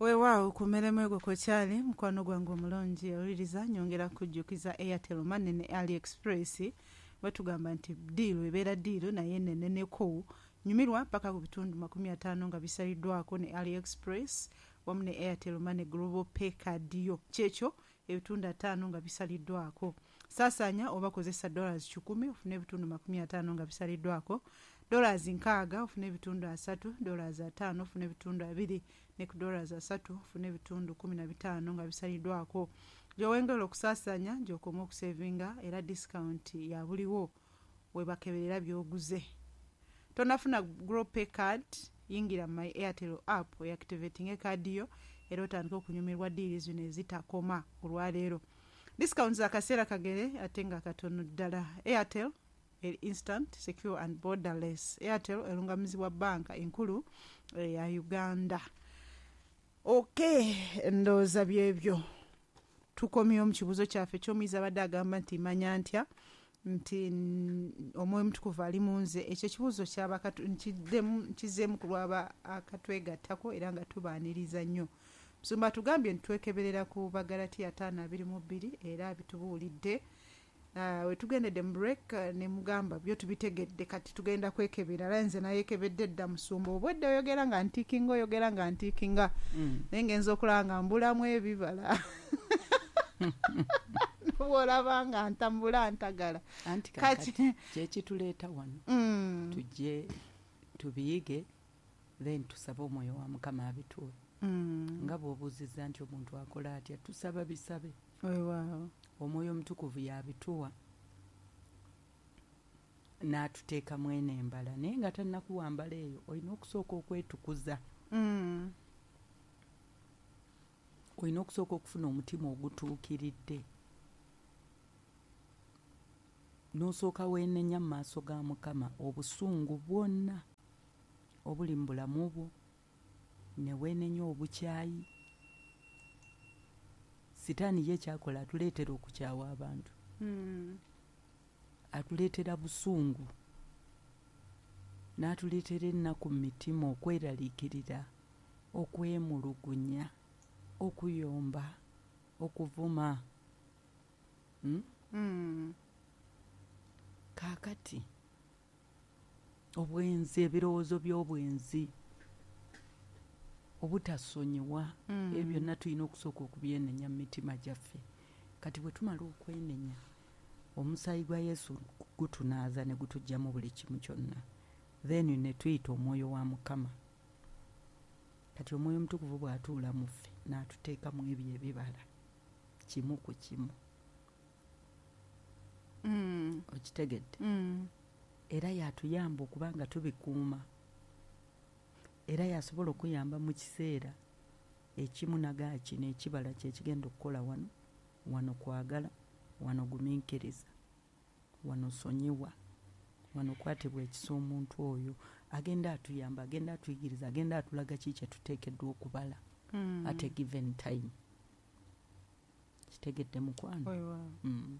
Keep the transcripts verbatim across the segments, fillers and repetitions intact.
Weewaawo ku mmeremu egwo kwekyali mukwano gwange omulungi owuliriza. Nyongera kujjukiza Airtel Money ne AliExpress. Batugamba nti deal ebeera deal naye neneneko. Nyumirwa paka ku bitundu makumi ataano nga bisaliddwako ne AliExpress wamu ne Airtel Money Global Pay card yo. Kyekyo ebitundu ataano nga bisaliddwako. Saasaanya oba kozesa dollars kikumi ofune ebitundu makumi ataano nga bisaliddwako, dollars nkaaga ofune ebitundu asatu, dollars ataano ofune ebitundu abiri, ne ku dollars asatu ofune ebitundu kumi na bitaano nga bisaliddwako. Gy'owengera okusaasaanya gy'okoma okusevinga, era discount ya buliwo webakeberera by'oguze. Tonafuna Global Pay card, yingira My Airtel app oactivating ekaadi yo era otandika okunyumirwa deal zino ezitakoma. Olwaleero discounts akaseera kagere ate nga katono ddala. Airtel eri instant, secure and borderless. Airtel erungamizibwa Banka Enkulu ya Uganda. Ok, ndowooza byebyo. Tukomyewo mu kibuuzo kyaffe ekyomuyizi abadde agamba nti manya ntya nti Omwoyo Mutukuvu ali mu nze. Ekyo ekibuuzo kyaba nkizeemu ku lwaba akatwegattako era nga tubaaniriza nnyo. Musumba tugambye nti twekeberera ku Bagalatiya ataano abiri mu bbiri, era bitubuulidde. uh, we tugendedde mu break ne mugamba byo tubitegedde, kati tugenda kwekebera. Era nze nayekebedde dda, musumba. Obwedde oyogera nga ntiikinga, oyogera nga ntiikinga, mm. naye ngenza okulaba nga mbulamu ebibala, bwolaba nga ntambula ntagala. Anti kati kyekituleeta wano, mm. tujje tubiyige, then tusabe Omwoyo wa Mukama abituwe. mm. Nga bw'obuuzizza nti omuntu akola atya, tusaba bisabe, Omwoyo Omutukuvu yabituwa n'atuteekamu eno embala. Naye nga tannakuwa mbala eyo, olina okusooka okwetukuza, mm. olina okusooka okufuna omutima ogutuukiridde, n'osooka weenenya mu maaso ga Mukama obusungu bwonna obuli mu bulamu bwo, ne weenenya obukyayi. Sitaani ye kyakola, atuleetera okukyawa abantu, mm. atuleetera busungu, n'atuleetera ennaku mu mitima, okweraliikirira, okwemulugunya, okuyomba, okuvuma, hmm? mm. Kaakati obwenzi, ebirowoozo by'obwenzi, obutasonyiwa, mm. ebyo byonna tulina okusooka okubyenenya mu mitima gyaffe. Kati bwe tumala okwenenya, omusaayi gwa Yesu gutunaaza ne gutugyamu buli kimu kyonna, then ne tuyita Omwoyo wa Mukama. Kati Omwoyo Omutukuvu bw'atuula mu ffe n'atuteekamu ebyo ebibala kimu ku kimu, mm. okitegedde? mm. Era yatuyamba okuba nga tubikuuma, era yasobola okuyamba mu kiseera ekimu nagaa kino ekibala kyekigenda okukola wano, wano kwagala, wano gumiikiriza, wano sonyiwa, wano kwatibwa ekisa. Omuntu oyo agenda atuyamba, agenda atuyigiriza, agenda atulaga ki kyetuteekeddwa okubala mm. at a given time. Kitegedde, mukwano? mm.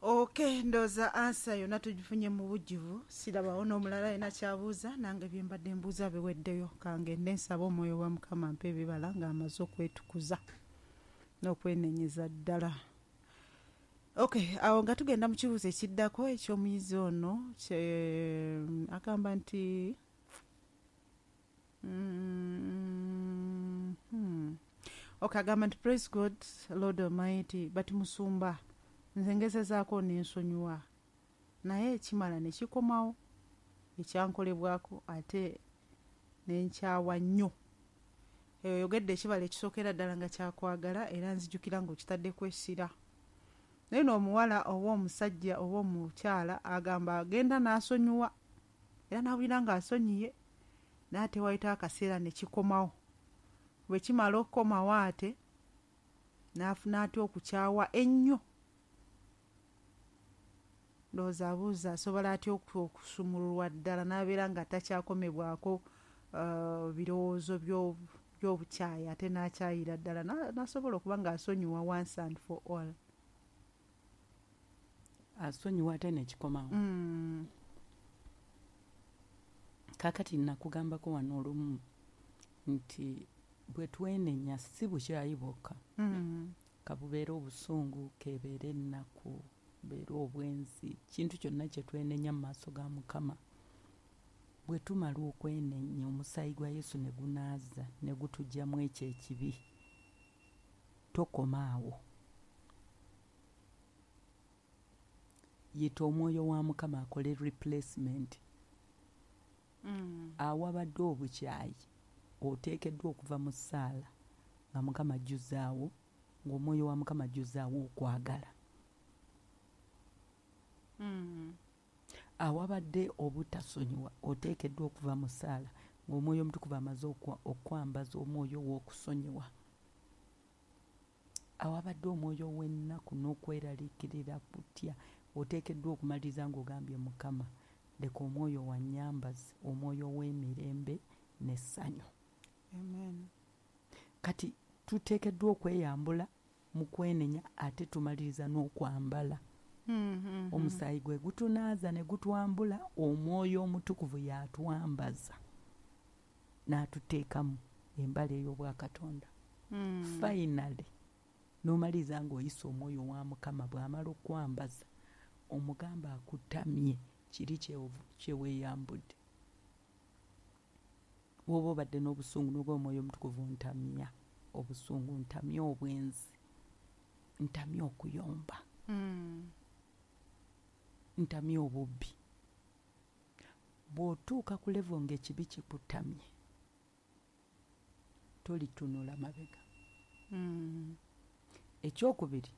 Ok, ndowooza answer yonna tugifunye mu bujjuvu. Sirabawo n'omulala yena kyabuuza. Nange byembadde mbuuza biweddeyo. Kangende nsaba Omwoyo wa Mukama mpa ebibala ng'amaze okwetukuza n'okwenenyeza ddala. Ok, awo nga tugenda mu kibuuzo ekiddako ekyomuyizi ono, agamba nti mm, hmm. ok, agamba nti, "Praise God, Lord Almighty, but musumba, nze ngezezaako nensonyiwa, naye ekimala ne kikomawo ekyankolebwako, ate nenkyawa nnyo." Oyogedde ekibala ekisookera ddala nga kyakwagala, era nzijukira ng'okitaddeko essira. Naye n'omuwala oba omusajja oba omukyala agamba agenda n'asonyiwa era n'awulira ng'asonyiye, naye ate wayitawo akaseera ne kikomawo. Bwe kimala okukomawo, ate n'afuna atya okukyawa ennyo? Ndowooza abuuza asobola atya okusumululwa ddala n'abeera nga takyakomebwako uh, birowoozo by'obukyayi, ate n'akyayira ddala n'asobola okuba ng'asonyiwa once and for all. Asonyiwa ate nekikomawo. mm. Kaakati nakugambako wano olumu nti Bwe twenenya si bukyayi bwokka, Mm. kabubeere obusungu, kebeere ennaku, beere obwenzi, kintu kyonna kye twenenya mu maaso ga Mukama. Bwe tumala okwenenya, omusaayi gwa Yesu ne gunaaza ne gutuggyamu ekyo ekibi, tokoma awo. Yita omwoyo wa Mukama akole replacement. Mm. Awabadde obukyayi oteekeddwa okuva mu ssaala nga Mukama ajjuzaawo, ng'omwoyo wa Mukama ajjuzaawo okwagala. Mm. Awabadde obutasonyiwa oteekeddwa okuva mu ssaala ng'omwoyo omutukuvu amaze okwambaza omwoyo w'okusonyiwa. Awabadde omwoyo w'ennaku n'okweraliikirira kutya oteekeddwa okumaliriza ng'ogambye Mukama, leka omwoyo wannyambaze omwoyo w'emirembe n'essanyu. Amen. Kati tuteekeddwa okweyambula mu kwenenya ate tumaliriza n'okwambala. Mm-hmm. Omusaayi gwe gutunaaza ne gutwambula, omwoyo omutukuvu y'atwambaza n'atuteekamu embala ey'obwakatonda. Mm. Finally n'omaliriza ng'oyisa omwoyo wa Mukama bw'amala okwambaza, omugamba akutamye kiri kye weeyambudde. Bw'oba obadde n'obusungu n'oba omwoyo omutukuvu, ntamya obusungu, ntamya obwenzi, ntamya okuyomba, mm. ntamya obubbi. Bw'otuuka ku level ng'ekibi kikutamye, tolitunula mabega. Mm. Ekyokubiri,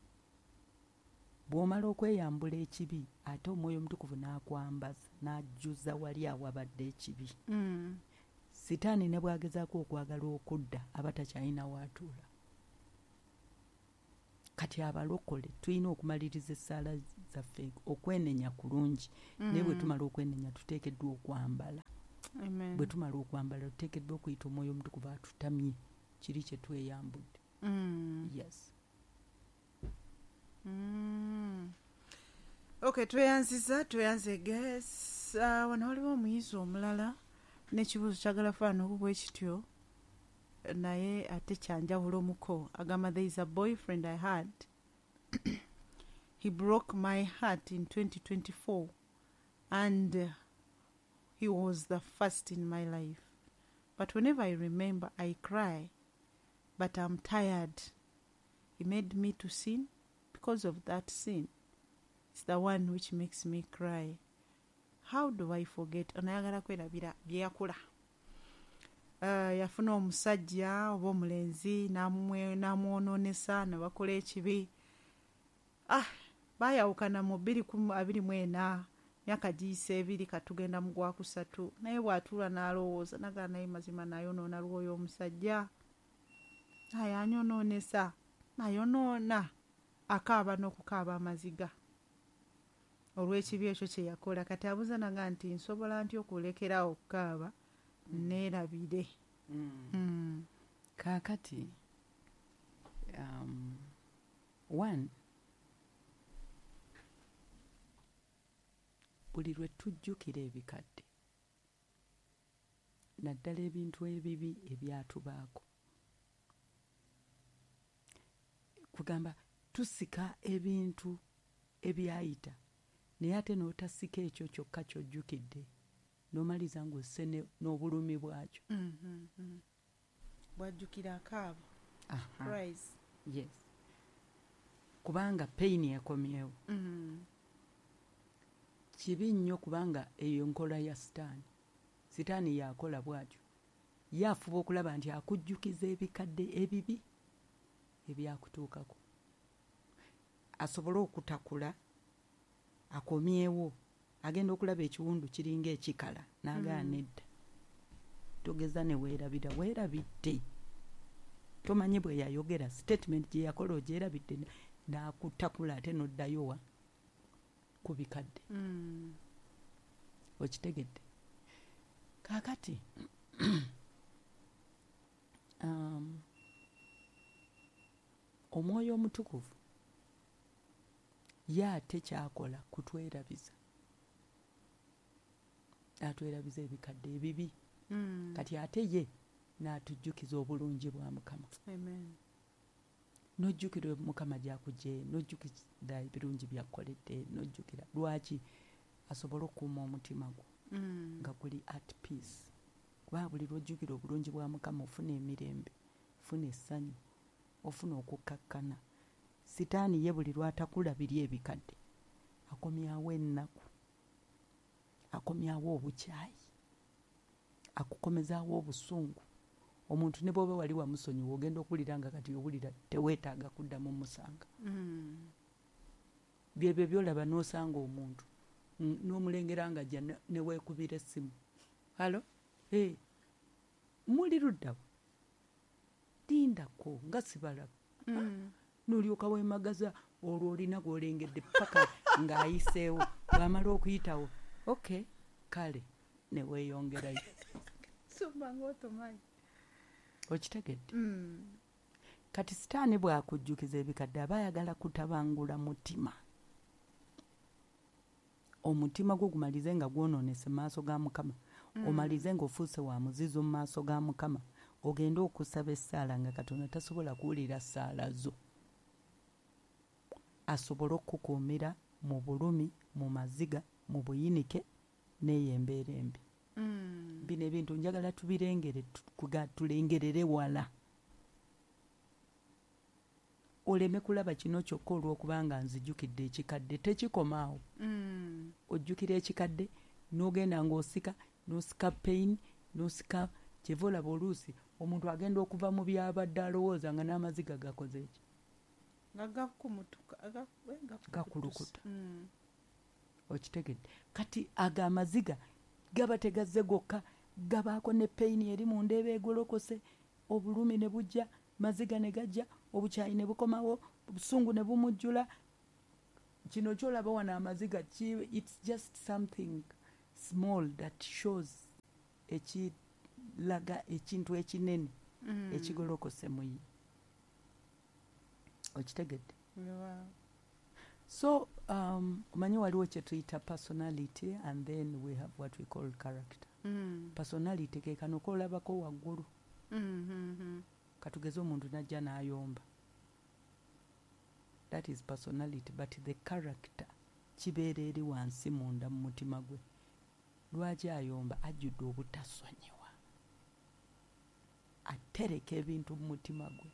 bw'omala okweyambula ekibi ate omwoyo omutukuvu n'akwambaza n'ajjuza wali awabadde ekibi. Mm. Sitaani ne bw'agezaako okwagala okudda aba takyalina w'atuula. Kati abalokole tulina okumaliriza essaala zaffe okwenenya kulungi. Mm. Naye bwe tumala okwenenya tuteekeddwa okwambala. Amen. Bwe tumala okwambala tuteekeddwa okuyita omwoyo omutukuvu atutamye kiri kye tweyambudde. Mm. Yes. Mm. Okay, tweyanziza, tweyanze guys. Uh, wano waliwo omuyizi omulala n'ekibuuzo kyagala faana obubwe kityo, naye ate kyanjawulo muko. Agamba, there is a boyfriend I had. He broke my heart in twenty twenty-four and uh, he was the first in my life. But whenever I remember, I cry. But I'm tired. He made me to sin. Because of that sin, it's the one which makes me cry. How do I forget? Onayagala kwerabira bye yakola. Uh, yafuna omusajja oba omulenzi n'amwonoonesa ne bakola ekibi. Ah, baayawukana mu bbiri abiri mu ena, myaka giyise ebiri katugenda mu gwa kusatu. Naye bw'atuula n'alowooza nagala naye mazima nayonoona lw'oyo omusajja. Naye anyonoonesa, nayonoona. Akaaba n'okukaaba amaziga olw'ekibi ekyo kye yakola. Kati abuuza naga nti nsobola ntya okulekerawo okukaaba neerabire? Mm. Mm. Kaakati um, one, buli lwe tujjukira ebikadde naddala ebintu ebibi ebyatubaako, kugamba tusika ebintu ebyayita, naye ate n'otasika ekyo kyokka ky'ojjukidde n'omaliza ng'osse n'obulumi bwakyo. Mm-hmm. Bw'ajjukira akaaba. Cries. Yes. Kubanga pain ekomyewo. Mm-hmm. Kibi nnyo kubanga eyo nkola ya Sitaani. Sitaani yakola bw'atyo. Ye afuba okulaba nti akujjukiza ebikadde ebibi ebyakutuukako, asobole okutakula akomyewo. Agenda okulaba ekiwundu kiringa ekikala n'agaana edda. Togeza ne weerabira, weerabidde. Tomanyi bwe yayogera, statement gye yakola ogyerabidde, n'akutakula ate n'oddayo wa ku bikadde. Mm. Okitegedde? Kaakati um, omwoyo omutukuvu ye ate kyakola kutwerabiza, atwerabiza ebikadde ebibi. Mm. Kati ate ye N'atujjukiza obulungi bwa Mukama. Amen. N'ojjukira Mukama gy'akuggye, n'ojjukira ebirungi by'akukoledde, n'ojjukira lwaki asobole okukuuma omutima gwo Mm. nga guli at peace. Kuba buli lw'ojjukira obulungi bwa Mukama ofuna emirembe, ofuna essanyu, ofuna okukkakkana. Sitaani ye buli lw'atakula biri ebikadde akomyawo ennaku, akomyawo obukyayi, akukomezaawo obusungu. Omuntu ne bw'oba wali wamusonyiwa ogenda okuwulira nga kati owulira teweetaaga kuddamu musanga. Mm. Byebyo by'olaba n'osanga omuntu mm, n'omulengera nga ajja ne- ne weekubira essimu, "Hello, hey, muli luddawa? Lindako nga sibalaba." Mm. N'olyoka weemagaza olwo olina gw'olengedde paka ng'ayiseewo. Bw'amala okuyitawo, okay, kale ne weeyongerayo. Sumba ng'otomanyi. Okitegedde? Mm. Kati sitaani bw'akujjukiza ebikadde aba ayagala kutabangula mutima, omutima gwo gumalize nga gwonoonese mu maaso ga Mukama, Mm. omalize ng'ofuuse wa muzizo mu maaso ga Mukama, ogende okusaba essaala nga Katonda tasobola kuwulira ssaala zo, asobole okukukuumira mu bulumi, mu maziga, mu buyinike n'eyo embeera embi. Mm. Bino ebintu njagala tubirengere, tu- kuga tulengerere wala, oleme kulaba kino kyokka olw'okubanga nzijukidde ekikadde. Tekikomaawo. Mm. Ojjukira ekikadde n'ogenda ng'osika, n'osika pain, n'osika. Kyeva olaba oluusi omuntu agenda okuva mu byabadde alowooza nga n'amaziga gakoze eki? Nga gakumutuka, ga- eh, gakulukutusa. Gakulukuta. Mm. Okitegedde? Kati ago amaziga gaba tegazze gokka, gabaako ne pain eri munda eba egolokose, obulumi ne bujja, maziga ne gajja, obukyayi ne bukomawo, obusungu ne bumujjula. Kino kyolaba wano amaziga ki, it's just something small that shows, ekilaga ekintu ekinene Mm. ekigolokose mu ye. Okitegedde? Wow. So um, omanyi waliwo kye tuyita personality and then we have what we call character. Mm. Personality ke kano koolabako waggulu. Mm, mm, mm. Katugeze omuntu najja n'ayomba, that is personality, but the character kibeera eri wansi munda mu mutima gwe. Lwaki ayomba? Ajjudde obutasonyiwa, atereka ebintu mu mutima gwe.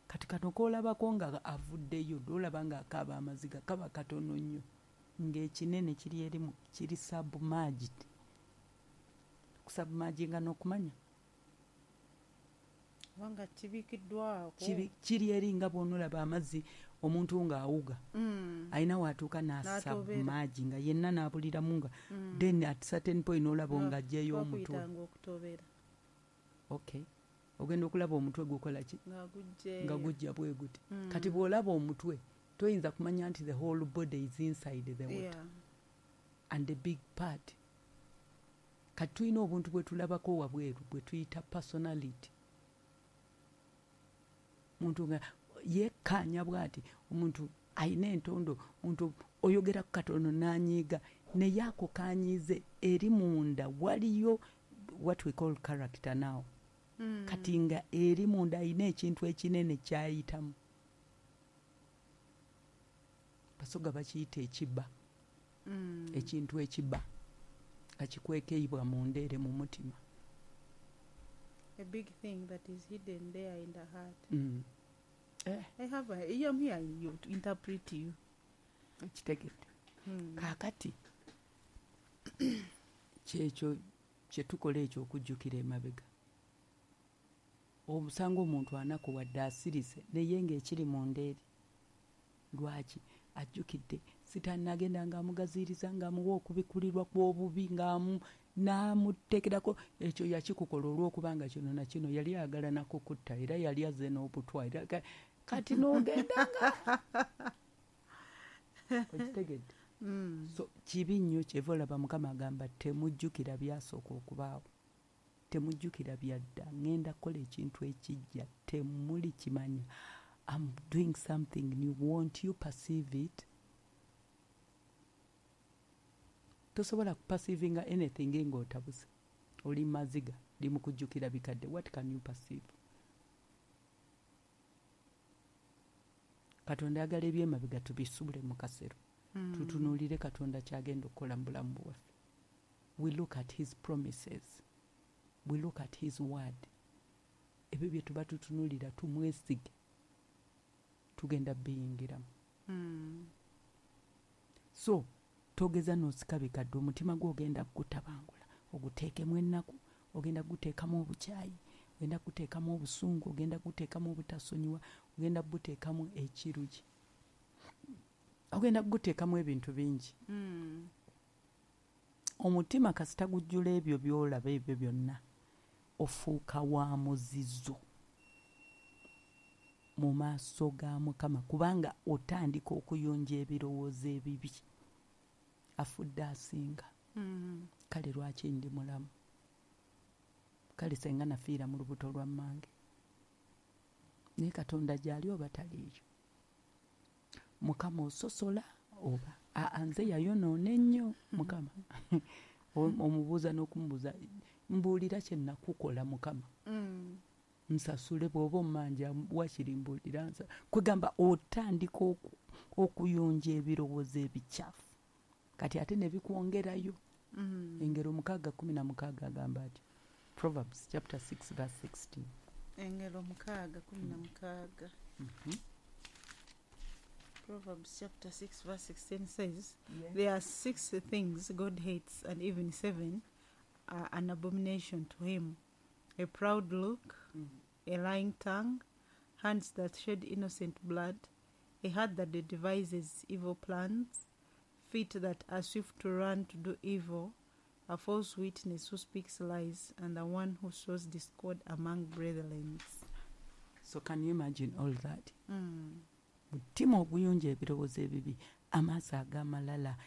Kati kano koolabako nga avuddeyo, lwolaba ng'akaaba amaziga kaba katono nnyo, ng'ekinene kiri eri mu- kiri submerged. Kusubmerginga n'okumanya? Kubanga kibikiddwako. Kibi- kiri eri nga bw'onoolaba amazzi, omuntu ng'awuga, Mm. alina waatuuka N'atobeera. n'asubmerge nga yenna n'abuliramu nga Mm. then at certain point n'olaba ng'aggyeyo omutwe. Bakuyitanga okutobera. Okay, ogenda okulaba omutwe gukola ki? Nga gujjeeyo. Nga gujja bwe guti. Mm. Kati bw'olaba omutwe toyinza kumanya nti the whole body is inside the water Yeah. and the big part. Kati tulina obuntu bwe tulabako wabweru bwe tuyita personality. Muntu nga yekkaanya bw'ati, omuntu ayina entondo, omuntu oyogera ku katono n'anyiiga, naye ako kanyiize eri munda waliyo what we call character now. Mm. Kati nga eri munda ayina ekintu ekinene kyayitamu, Basoga bakiyita ekibba. Mm. Ekintu ekibba nga kikwekeibwa munda ere mu mutima. A big thing that is hidden there in the heart. Mm. Eh, I have a, I am here you to interpret you. Kitegedde? Mm. Kaakati kyekyo kyetukola ekyo okujjukira emabega. Osanga omuntu anakuwadde asirise naye ng'ekiri munda eri, lwaki ajjukidde sitaani nagenda ng'amugaziiriza, ng'amuwa okubikulirwa kw'obubi, ng'amu n'amuteekerako ekyo yakikukola olw'okubanga kino na kino yali ayagala nakukutta, era yali azze n'obutwa era ka- kati n'ogenda nga okitegedde. Mm. So kibi nnyo. Kyeva olaba Mukama agamba, "Temujjukira byasooka okubaawo, temujjukira byadda. Ŋŋenda kukola ekintu ekijja, temuli kimanya. I'm doing something new, won't you perceive it?" Tosobola kuperceivinga anything ng'otabuse, oli maziga. Limukujjukira bikadde. What can you perceive? Katonda ayagala ebyemabega tubisubule mu kasero. Mm. Tutunuulire Katonda kyagenda okukola mu bulamu bwaffe. We look at his promises. We look at his word. Ebyo bye tuba tutunuulira tumwesige. Tugenda biyingiramu. Mm. So, togeza n'osika bikadde, omutima gwo ogenda kugutabangula, oguteekemu ennaku, ogenda kuguteekamu obukyayi, ogenda kuguteekamu obusungu, ogenda kuguteekamu obutasonyiwa, ogenda kuguteekamu ekirugi, ogenda kuguteekamu ebintu bingi. Mm. Omutima kasita gujjula ebyo by'olaba ebyo byonna, ofuuka wa muzizo mu maaso ga Mukama, kubanga otandika okuyonja ebirowoozo ebibi. Afudde asinga. Mm. Kale lwaki ndi mulamu? Kale senga nafiira mu lubuto lwa mmange. Naye Katonda gy'ali oba taliiyo? Mukama ososola oba aa nze yayonoona ennyo Mukama. Omubuuza n'okumubuuza, mbuulira kye nakukola Mukama. Mm. Nsasule bw'oba ommanja wakiri mbuulira nsa. Kwegamba otandika okuyonja ebirowoozo ebikyafu. Kati ate ne bikwongerayo. Mm. Engero mukaaga kumi na mukaaga agamba ati. Proverbs chapter six verse sixteen. Engero mukaaga kumi na mukaaga. Mm-hmm. Proverbs chapter six verse sixteen says, yes. There are six things God hates, and even seven are an abomination to him. A proud look, mm-hmm. a lying tongue, hands that shed innocent blood, a heart that devises evil plans, feet that are swift to run to do evil, a false witness who speaks lies, and the one who sows discord among brethren. So can you imagine all that? Mm. Mutima oguyonja ebirowoozo ebibi, amaaso ag'amalala,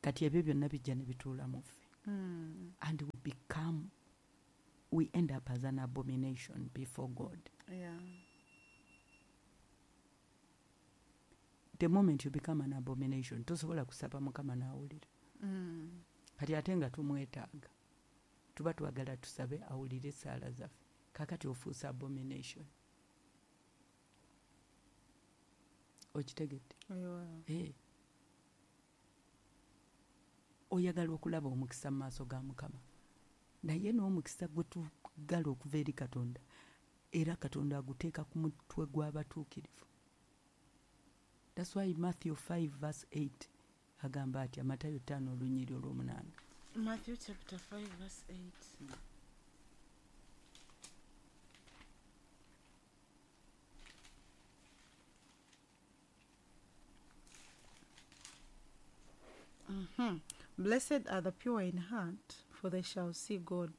kati ebyo byonna bijja ne bituula mu ffe. Mm. And we become, we end up as an abomination before God. Yeah. The moment you become an abomination, tosobola kusaba Mukama n'awulira. Mm. Kati ate nga tumwetaaga, tuba twagala tusabe awulire essaala zaffe. Kakati ofuusa abomination. Okitegedde? Hey. Oyagala okulaba omukisa mu maaso ga Mukama, naye n'omukisa gwe tugala okuva eri Katonda, era Katonda aguteeka ku mutwe gw'abatuukirivu. That's why Matthew five verse eight agamba ati, Matayo ttaano olunyiriri olw'omunaana. Matthew chapter five verse eight. Mm. Mm-hmm. Blessed are the pure in heart, for they shall see God.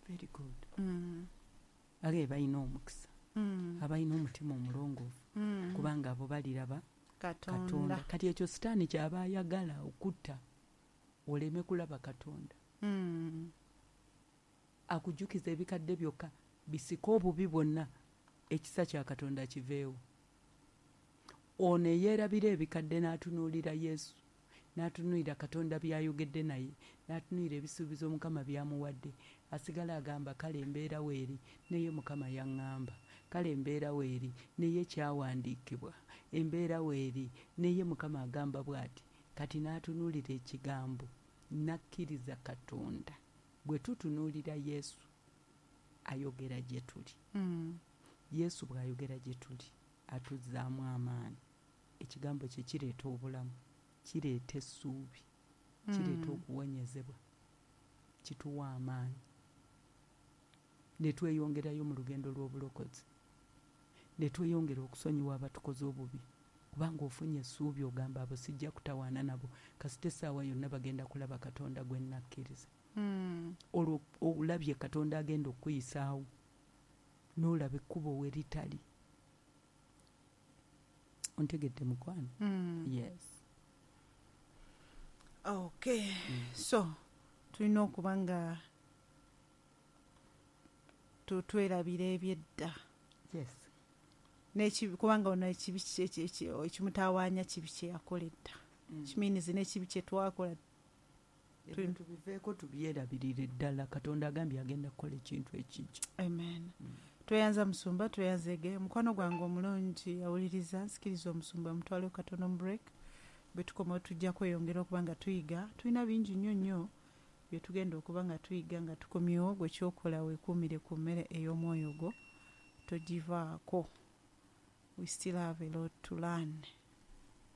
Very good. Mm. Age balina omukisa. Mm. Abalina omutima omulongoofu. Mm. Kubanga abo baliraba Katonda. Katonda. Kati ekyo Sitaani ky'aba ayagala okutta, oleme kulaba Katonda. Mm. Akujjukiza ebikadde byokka, bisika obubi bwonna, ekisa kya Katonda kiveewo. Ono eyeerabira ebikadde n'atunuulira Yesu, n'atunuulira Katonda by'ayogedde naye, n'atunuulira ebisuubizo Mukama by'amuwadde, asigala agamba kale embeera weeri, naye Mukama yaŋŋamba, kale embeera weeri, naye kyawandiikibwa, embeera weeri, naye Mukama agamba bw'ati. Kati n'atunuulira ekigambo, n'akkiriza Katonda. Bwe tutunuulira Yesu, ayogera gye tuli. Mm. Yesu bw'ayogera gye tuli, atuzzaamu amaanyi. Ekigambo kye kireeta obulamu, kireeta essuubi, kireeta Mm. okuwonyezebwa, kituwa amaanyi. Ne tweyongerayo mu lugendo lw'obulokozi, ne tweyongera okusonyiwa abatukoze obubi, kubanga ofunye essuubi ogamba abo sijja kutawaana nabo, kasita essaawa yonna bagenda kulaba Katonda gwe nnakkiriza. Mm. Olwo olabye Katonda agenda okukuyisaawo, n'olaba ekkubo we litali. Ontegedde mukwano? Mm. Yes. Okay. Mm. So tulina okuba nga twerabira ebyedda. Yes. N'ekibi, kubanga ono ekibi ekimutawaanya kibi kye yakola edda. Mm. Kiminizi n'ekibi kye twakola Ebintu biveeko, tubyerabirire ddala. Katonda agambye agenda kukola ekintu ekijja. Amen. Tweyanza musumba, tweyanzege mukwano gwange omulungi awuliriza. Nsikiriza omusumba mutwale katono mu break. Bwe tukomawo tujja kweyongera okuba nga tuyiga. Tulina bingi nnyo nnyo bye tugenda okuba nga tuyiga nga tukomyewo. Gwe kyokola, weekuumire ku mmere ey'omwoyo gwo, togivaako. We still have a lot to learn.